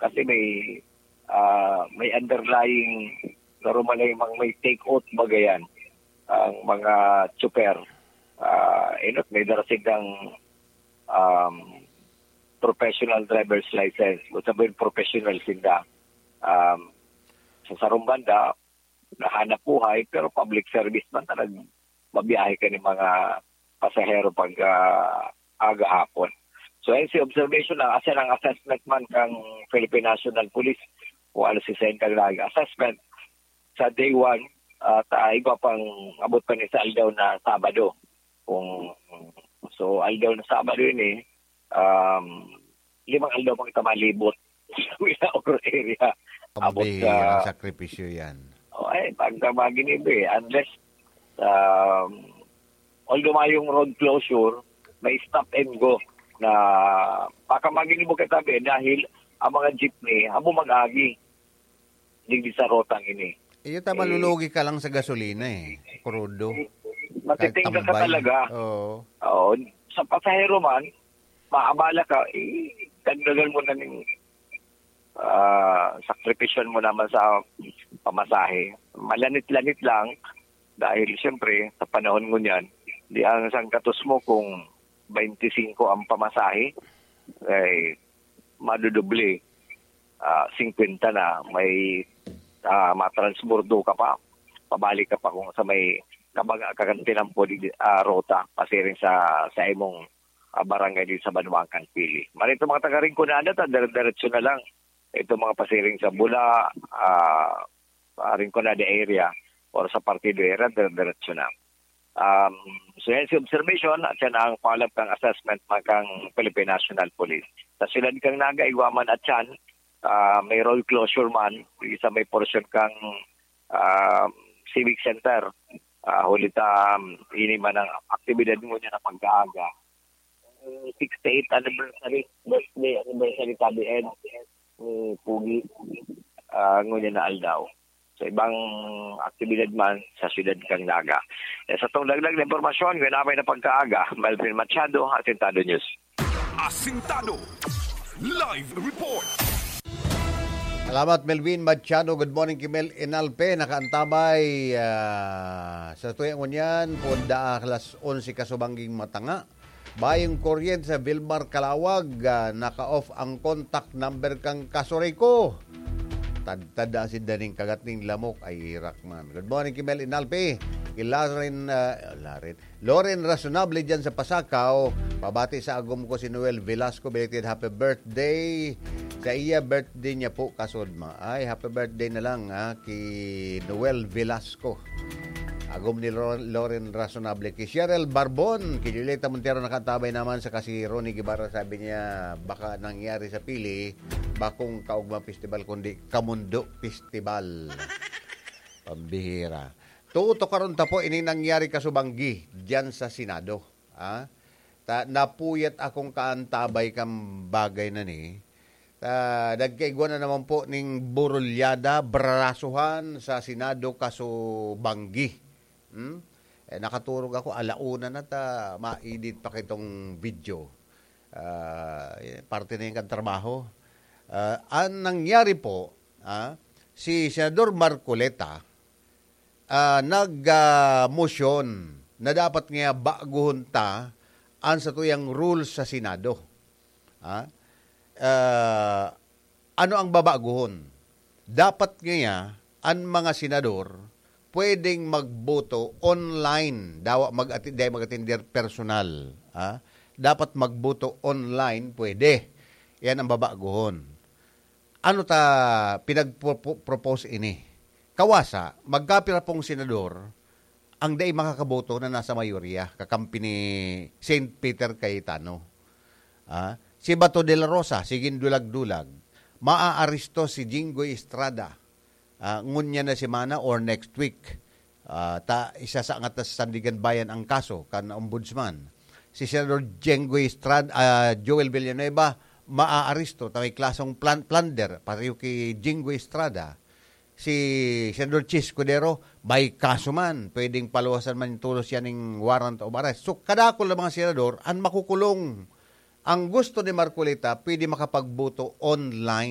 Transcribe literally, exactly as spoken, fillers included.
Kasi may, ah, may underlying, normal na yung mga may take out, baga yan, ang mga tsuper. Ah, enot, may dara silang, um, professional driver's license. Kung sabihin, professional sinda. Um, sa sarong banda, nahanap buhay, pero public service man talaga, mabiyahe ka ng mga pasahero pag, ah, aga hapon. So, yan si observation na, asa ang assessment man kang Philippine National Police, kung ano si Sen kang nag-assessment sa day one, at, ah, iba pang abot pa ni sa aldaw na Sabado. Kung, so, aldaw na Sabado yun eh, um, limang aldaw pang kita malibot sa Winaor area. Abot Pambihirang sa sakripisyo yan. O, eh, pag maginibo eh, unless, um, although mayong road closure, may stop and go na baka maginibo ka tabi dahil ang mga jeepney, abo mag-agi. Digdi sa rotang ini. Iyo ta, Eh, malulugi ka lang sa gasolina eh. Krudo. Matitingga ka Kahit tambay. talaga. Oo. Oo. Sa pasahero man, maabala ka, eh, dagdagan mo na ning, ah, sakripisyon mo naman sa pamasahe. Malanit-lanit lang dahil siyempre sa panahon ngunyan, di ang sangkatos mo kung twenty-five ang pamasahe, ay madudoble, ah, fifty na, may, ah, matransbordo ka pa, pabalik ka pa kung sa may kabaga ka kan tinampo di, ah, rota, pasiring sa, sa imong, ah, barangay di sa Banwaan kan Pili. Marito mga taga Rinconada, ta dire-diretso na lang. Ito mga pasiring sa Bula, ah, ah, Rinconada area, or sa Partido area, dire-diretso na. Um, so yan si observation at yan ang follow-up kang assessment man kang Philippine National Police. Sa siyudad kang Naga, igwa man at yan, ah, may road closure man, sa may portion kang, ah, Civic Center. Ah, huli ta, um, ini man ang aktibidad mo niya na pagkaaga. Ang sixty-eighth anniversary, birthday anniversary tabi Ed, ni Pugi, ah, ngunyan na aldaw. Sa ibang aktibidad man sa siyudad kang Naga. Eh, sa tong dagdag na impormasyon, ganapay na pagkaaga, Melvin Machado, Asintado News. Asintado Live Report. Salamat, Melvin Machado. Good morning, Kimel Inalpe. Nakaantabay, ah, sa tuya ngunyan, punda alas onse kasubangging matanga. Bayong kuryente sa Vilmar Calawag, ah, naka-off ang contact number kang Kasuriko. Tadtad asin daning kagat ning lamok, ay irak man. Good morning, Kimel Inalpe. Ki Laren, ah, Laren. Loren Razonable dyan sa Pasacao. Pabati sa agom ko si Noel Velasco, belated happy birthday. Sa iya, birthday niya po, kasod ma. Ay, happy birthday na lang, ha, ki Noel Velasco. Agom ni Lo-, Loren Razonable. Ki Cheryl Barbon, ki Julieta Montero, nakatabay naman sa kasi Ronnie Guevara, sabi niya, baka nangyari sa Pili, bakong Kaugma Festival, kundi Kamundo Festival. Pambihira. Tutukaron ta po ini nangyari kasubanggi diyan sa Senado, ah. Ta napuyat akong kaantabay kan bagay na ni. Ta nagkaigwa na naman po ning burulyada, brasuhan sa Senado kasubanggi. Hmm? Eh, nakaturog ako, ala una na ta, maedit pa kitong video. Ah, eh, parte na yan kan trabaho. Ah, ang nangyari po, ah, si Senador Marcoleta, ah, nag, ah, motion na dapat nga baguhon ta an satuyang rules sa Senado. Ah, ah, ano ang babaguhon? Dapat ngaya an mga senador pwedeng magboto online, dawa mag-ati-, dai mag-atender personal, ah. Dapat magboto online, pwede. Yan ang babaguhon. Ano ta pinagpo-, propose ini? Kawasa, magkapira pong senador ang dai makakaboto na nasa mayorya, kakampi ni Saint Peter Cayetano. Ah, si Bato de la Rosa, sigin dulag-dulag, maaaresto si Jinggoy Estrada, ah, ngunyan na semana or next week. Ah, ta, isasaangat na sa Sandiganbayan ang kaso kan Ombudsman. Si Senador Jinggoy Estrada, ah, Joel Villanueva, maaaresto ta may klasong plan-, plunder, pareho ki Jinggoy Estrada. Si Senador Chiz Escudero, may kaso man, pwedeng paluwasan man tolos yan ning warrant of arrest. So, kadakul na mga senador, ang makukulong. Ang gusto ni Marcoleta, pwede makapagboto online.